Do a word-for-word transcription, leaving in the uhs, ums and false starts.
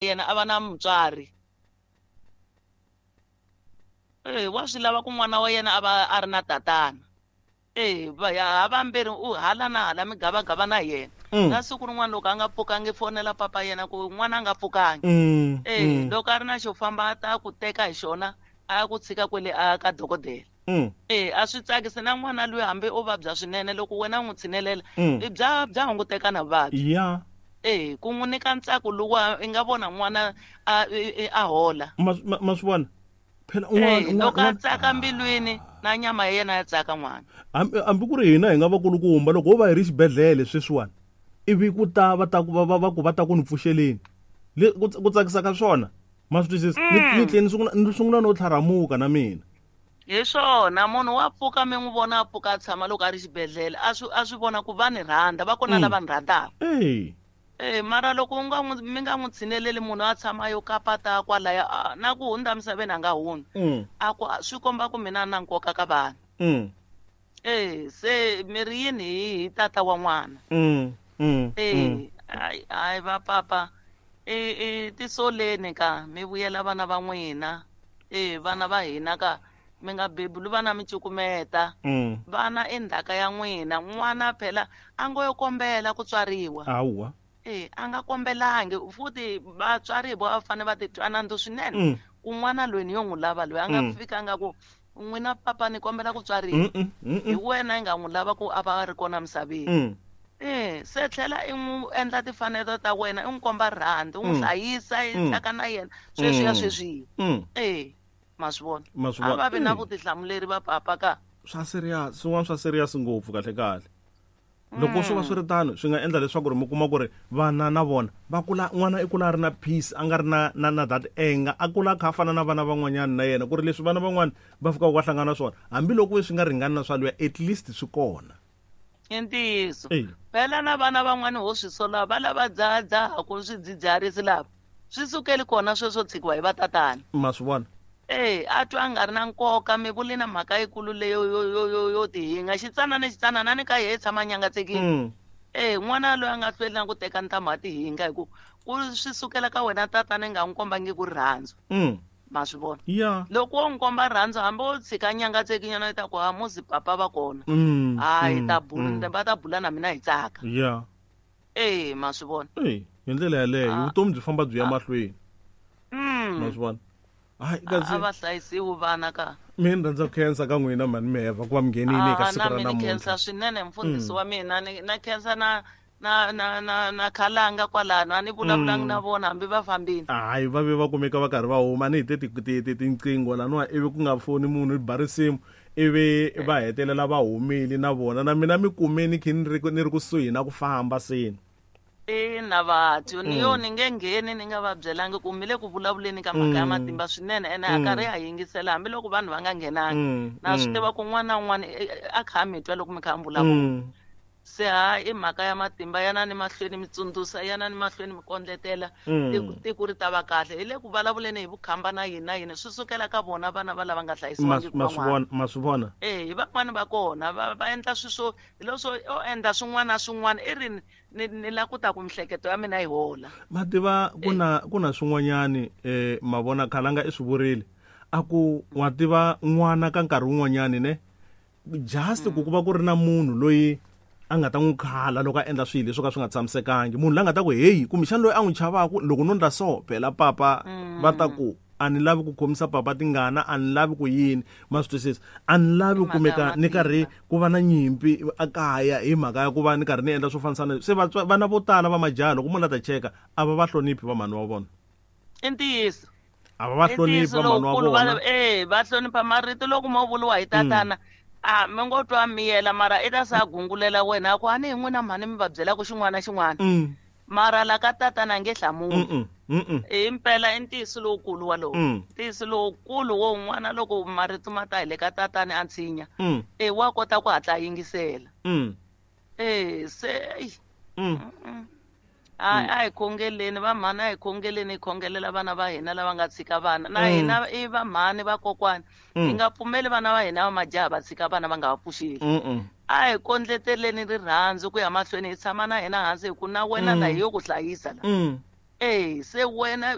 Yena a va na mutswari. E wa swi lava ku n'wana wa yena a va a ri na tatana. E va ya ha vambirhi u hala na hala mi gavagava na yena. Mm. Na siku rin'wana loko a nga pfukangi fonela papa yena ku n'wana a nga pfukangi. Mm. E Mm. loko a ri na xo famba a ta ku teka hi xona a ya ku tshika kwele a ka dokodela. Mm. E a swi tsakisi na n'wana loyi hambi o vabya swinene loko wena u n'wi tshinelela Mm. i bya bya hunguteka na vuvabyi. Ya. E ku n'wi nyika ntsako luwa i nga vona n'wana a i- i- a hola. Ma ma- ma swi vona phela E un'wana loko a un'wana tsaka mbilwini na nyama ya yena ya tsaka n'wana. hambi hambi ku ri hina hi nga vakulukumba loko ho va hi ri xibedhlele sweswiwani ivi ku ta va ta ku va va va ku va ta ku ni pfuxeleni le ku ku tsakisa ka swona ma swi twisisa ni ni tlhela ni sungula ni sungula no tlharamuka na mina. Hi swona munhu wa pfuka mi n'wi vona a pfuka a tshama loko a ri xibedhlele a swi a swi vona ku va ni rhandza va kona Mm. lava ni rhandzaka. Ey. E mara loko u nga n'wi mi nga n'wi tshineleli munhu a tshama yo kapata kwalaya a na ku hundza misaveni a nga hundzi. Mm. A ku a swi komba ku mina na nkoka ka vanhu. Mm. E se mi ri yini hi hi tata wa n'wana. Mm. Mm. E Mm. hayi hayi va papa e e tisoleni ka mi vuyela vana va n'wina. E vana va hina ka mi nga bebuli vana mi cukumeta. Mm. Vana i ndzhaka ya n'wina n'wana phela a ngo yo kombela ku tswariwa. Hawa. E a nga kombelangi futhi vatswari hi vona va fanele va titwa nandzu swinene. Mm. Ku n'wana loyi ni yo n'wi lava loyi a nga Mm. fikanga ku n'wina papa ni kombela ku tswariwa. Mm. Mm. Mm. Hi wena i nga n'wi lava ku a va a ri kona misaveni. Mm. E se tlhela i n'wi endla timfanelo ta wena i n'wi komba rirhandzu u n'wi Mm. hlayisa i Mm. tsaka na yena sweswiya Mm. sweswiya. Mm. E ma swi vona. Ma swi A vona. va vi na Eh. vutihlamuleri va papa ka. Swa serious swin'wana swa serious ngopfu kahle kahle. Loko swo va swi ri tano swi nga endla leswaku ri mi kuma ku ri vana na vona va kula n'wana i kula a ri na peace a nga ri na na na that anger a kula a kha a fana na vana van'wanyana na yena ku ri leswi vana van'wana va fikaka va hlangana na swona hambiloko swi nga ringani na swa luya at least swi kona. I ntiyiso. Ey. Phela na vana van'wani ho swi sola va lava dzahadzahaku swidzidziharisi lava swi sukeli kona sweswo tshikiwa hi vatatana. Ma swi vona. E a twa a nga ri na nkoka mi vuli na mhaka yikulu leyo yo yo yo yo tihinga xitsanana xitsanana ni ka yehe i tshama a nyangatsekile. Mm. E n'wana loyi a nga hlweli na ku teka ntamu a tihinga hi ku ku swi sukela ka wena tatana i nga n'wi kombangi ku rirhandzu. Mm. Ma swi vona. Ya. Loko wo n'wi komba rirhandzu hambi wo tshika nyangatsekinyana i ta ku ha muzi papa va kona. Mm. Hayi Mm. ta bula Mm. va ta bula na mina hi tsaka. Ya. E ma swi vona. Ey, hi ndlela yaleyo A vutomi byi famba byi ya a mahlweni. Ma Mm. swi vona. Hayi A kasi a va hlayisiwi vana ka. mina ni rhandza ku khensa ka n'wina mhani Miheva ku va mi nghenile eka A siku na ra mina ni khensa namuntlha. swinene mfundhisi Mm. wa mina ni na khensa na na na na na khalanga kwalano a ni vulavulangi na Mm. vona hambi va fambile. Hayi va ve va kumeka va karhi va huma ni hi te ti ti ti tinqingho laniwa ivi ku nga foni munhu i ba risimu ivi va hetelela va humile na vona na mina mi kumeni khe ni ri ni ri kusuhi na ku famba seni. Ina vathu ni yo Mm. ni nge ngheni ni nga va byelangi ku mi le ku vulavuleni ka mhaka ya Mm. matimba swinene ene ha karhi Mm. ha yingisela hambiloko vanhu va nga nghenangi. Mm. Na swi Mm. tiva ku un'wana na un'wana a kha a mi twa loko mi kha mi vulavula. Mm. Se ha i mhaka ya matimba yanani mahlweni mi tsundzuxa yanani mahlweni mi kondletela tiko Mm. tiko ri ta va kahle. Hi le ku vulavuleni hi vukhamba na yini na yini swi sukela ka vona vana va lava nga Ma hlayisiwangiki ma swi van'wana. vona ma swi vona. E hi van'wani va kona va va endla swi swo hi leswo o endla swin'wana na swin'wana i ri ni ni la ku ta ku miehleketo ya mina yi hola. Ma tiva ku E na ku na swin'wanyani eh ma vona khalanga i swi vurile a ku wa tiva n'wana ka nkarhi wun'wanyani ne just ku ku va ku ri na munhu loyi a nga ta n'wi khala loko a endla swilo leswo ka swi nga tshamisekangi munhu la nga ta ku heyi kumbexana loyi a n'wi chavaku loko no ndla so phela papa va ta Mm. ku a ni lavi ku khomisa papa tingana a ni lavi ku yini ma swi twisisa a ni lavi I ku mhaka ya kumeka ni karhi matimba. ku va na nyimpi a kaya hi mhaka ya ku va ni karhi ni endla swo fanisana se vatswa vana vo tala va majaha loko munhu a ta cheka a va va hloniphi va mhani wa vona. I ntiyiso. A va va I hloniphi ntiyiso va mhani wa lowukulu va vona. e va hlonipha marito loko mo vuriwa hi Mm. tatana a mi ngo twa miyela mara i ta se a gungulela wena a ku a ni hi n'wina mhani mi va byelaka xin'wana na xin'wana. Mm. Mara la ka tatana a nge hlamuli. Mm. Mm. Himpela i ntiyiso lowukulu walowo. Mm. Ntiyiso lowukulu wo n'wana loko marito ma ta hi le ka tatana a tshinya Mm. e wa kota ku hatla a yingisela. Mm. E se eyi Mm. mm. A a hi khongeleni va mhani a hi khongeleni hi khongelela vana va hina lava nga tshika vana na Mm. hina i va mhani vakokwani hi Mm. nga pfumeli vana va hina va majaha va tshika vana va nga va pfuxeli. Mm. A hi kondleteleni rirhandzu ku ya mahlweni hi tshama na hina hansi hi ku na wena Mm. la hi yo ku hlayisa la. Mm. Eh se wena